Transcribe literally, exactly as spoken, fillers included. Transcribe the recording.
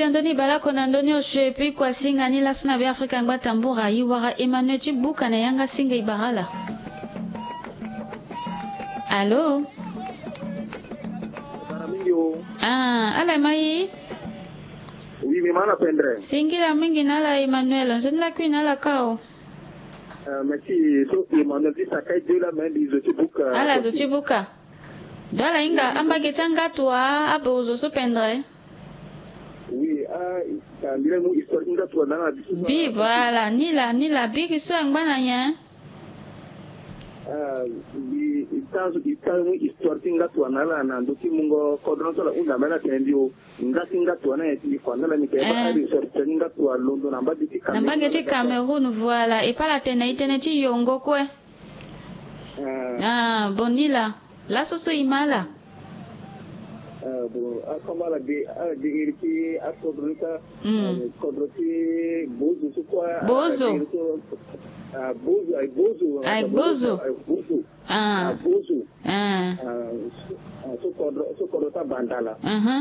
Andoni Balako na ndoni osio epi kuasinga ni laso na Be Afrika ngba tambura, i wara Emmanuel ti buka na yanga singa i bara ala. Alo. Ah, ala mai. Oui, mi mana pendre. Singila mingi na ala Emmanuel, nzoni la kui na ala kao. Euh, merci. So Emmanuel ti sakai de la main di zo ti buka. Ala zo ti buka. Do ala hinga ambage ti angatu a abo zo so pendre. Oui, ah, ah, mbi laa mu histoire ti ngatu a na ala biso. Bi, voilà, ni la, ni la, biri so angba na nyen? Ah, mbi, i ta, i ta mu histoire ti ngatu a na ala na ndo ti mungo kodro so ala hunda mbeni atene mbi o. Nga ti ngatu a na nyen ti mbi kua na ala ni ke ba ari histoire ti ngatu a londo na mbage ti Cameroun. Na mbage ti Cameroun, voilà, e pa ala tene i tene ti yongo kue. Ah, bon, ni la. Laso so i ma ala. Ah, bon, ah, comme ala de, ala de iri ti akodro ni ka, hmm, ah, kodro ti Bozo so kua, ah, Bozo. De iri so, ah, Bozo, ay Bozo, ay Bozo. Ay Bozo. Ah. Ay Bozo. Ah. Ah, so, ah, so kodro, so kodro ta Bandala. Mhm.